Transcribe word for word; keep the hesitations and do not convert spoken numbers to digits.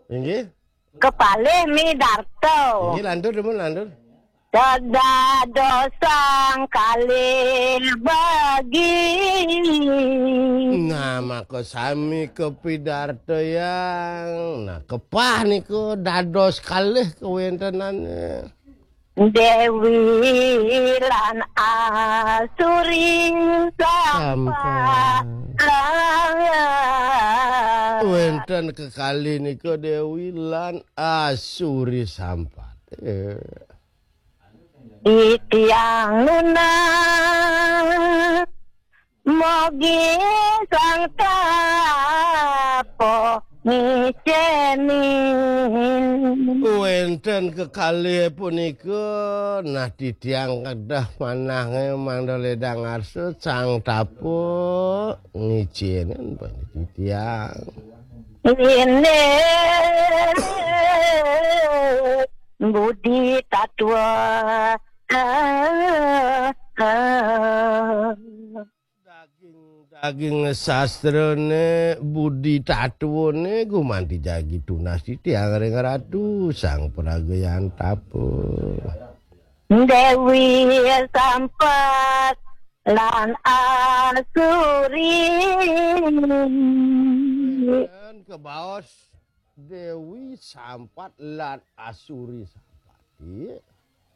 Inggih. Kepalih midarta. Inggih, lantur, Dumun, lantur. Dados sang kalih bagi. Nah, maka sami kapidartayang. Nah, kepah niku dados kalih kawéntenane. Dewi lan Asuri sampat. Wénten kekalih nika Dewi lan Asuri sampat. Eh. Titiang nunas mogi sang tapa ngiceni. Wénten kekalih punika, nah, titiang kedah manah mangda ledang arsa sang tapa ngiceni titiang. Ini budi tatwa. Daging-daging sastrane, budi tatwane gumanti jagi tunas titiang ring Ratu Sang Pragayan Tapa. Dewi Sampat lan Asuri. Dan kebaos Dewi Sampat lan Asuri Sampat. Iya.